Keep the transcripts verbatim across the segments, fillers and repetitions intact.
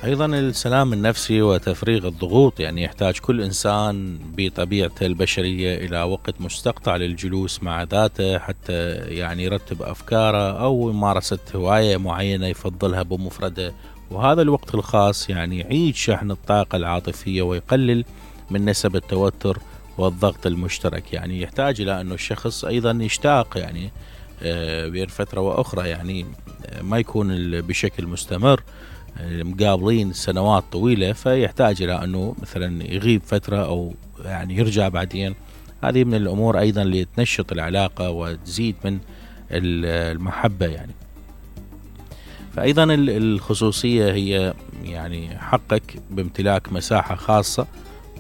أيضا السلام النفسي وتفريغ الضغوط، يعني يحتاج كل إنسان بطبيعته البشرية إلى وقت مستقطع للجلوس مع ذاته حتى يعني يرتب أفكاره أو ممارسة هواية معينة يفضلها بمفرده، وهذا الوقت الخاص يعني يعيد شحن الطاقة العاطفية ويقلل من نسب التوتر والضغط المشترك. يعني يحتاج إلى أنه الشخص أيضا يشتاق يعني بين فترة وأخرى، يعني ما يكون بشكل مستمر مقابلين سنوات طويلة، فيحتاج إلى أنه مثلا يغيب فترة أو يعني يرجع بعدين. هذه من الأمور أيضا اللي تنشط العلاقة وتزيد من المحبة. يعني فأيضا الخصوصية هي يعني حقك بامتلاك مساحة خاصة،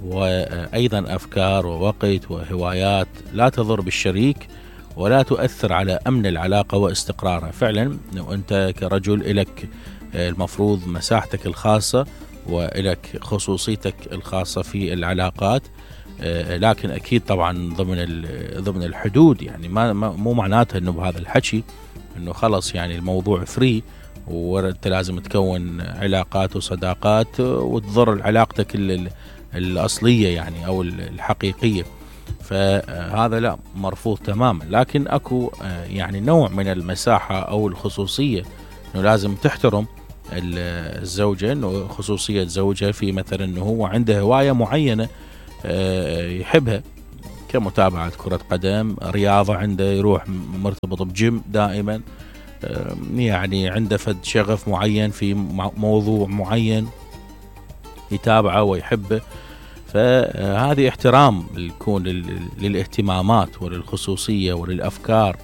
وأيضا أفكار ووقت وهوايات لا تضر بالشريك ولا تؤثر على أمن العلاقة واستقرارها. فعلا أنت كرجل إلك المفروض مساحتك الخاصة وإلك خصوصيتك الخاصة في العلاقات، لكن أكيد طبعا ضمن ضمن الحدود. يعني ما مو معناته إنه بهذا الحكي إنه خلص يعني الموضوع فري وأنت لازم تكون علاقات وصداقات وتضر علاقتك الأصلية يعني أو الحقيقية، فهذا لا، مرفوض تماما. لكن أكو يعني نوع من المساحة أو الخصوصية إنه لازم تحترم الزوجة، إنه خصوصية زوجها في مثلا إنه هو عنده هواية معينة يحبها كمتابعة كرة قدم، رياضة عنده يروح مرتبط بجيم دائما، يعني عنده فد شغف معين في موضوع معين يتابعه ويحبه. فهذه احترام يكون للاهتمامات وللخصوصية وللأفكار،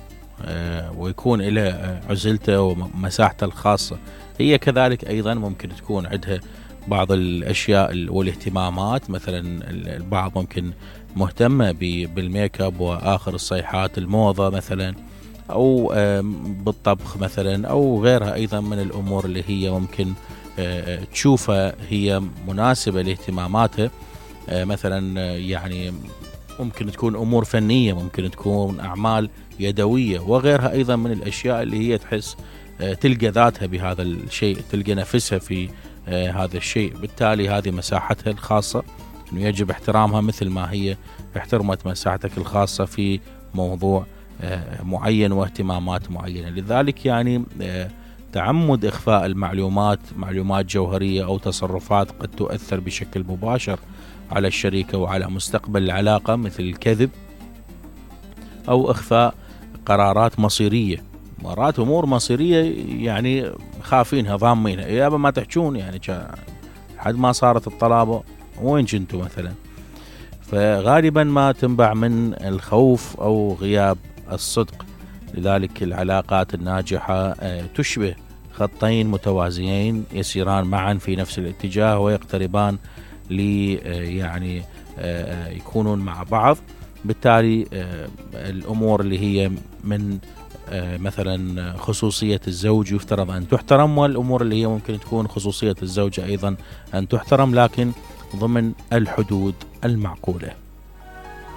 ويكون له عزلته ومساحته الخاصة. هي كذلك أيضا ممكن تكون عندها بعض الأشياء والاهتمامات، مثلا البعض ممكن مهتمة بالميك اب وآخر الصيحات الموضة مثلا، أو بالطبخ مثلا، أو غيرها أيضا من الأمور اللي هي ممكن تشوفها هي مناسبة لاهتماماتها. مثلا يعني ممكن تكون أمور فنية، ممكن تكون أعمال يدوية وغيرها أيضا من الأشياء اللي هي تحس تلقى ذاتها بهذا الشيء، تلقى نفسها في هذا الشيء. بالتالي هذه مساحتها الخاصة إنه يجب احترامها مثل ما هي احترمت مساحتك الخاصة في موضوع معين واهتمامات معينة. لذلك يعني تعمد إخفاء المعلومات، معلومات جوهرية أو تصرفات قد تؤثر بشكل مباشر على الشريكة وعلى مستقبل العلاقة، مثل الكذب أو إخفاء قرارات مصيرية. مرات أمور مصيرية يعني خافينها ضامينها، يابا ما تحجون يعني لحد ما صارت الطلابة وين كنتوا مثلا. فغالبا ما تنبع من الخوف أو غياب الصدق. لذلك العلاقات الناجحة تشبه خطين متوازيين يسيران معا في نفس الاتجاه ويقتربان لي يعني يكونون مع بعض. بالتالي الأمور اللي هي من مثلا خصوصية الزوج يفترض أن تحترم، والأمور اللي هي ممكن تكون خصوصية الزوجة أيضا أن تحترم، لكن ضمن الحدود المعقولة.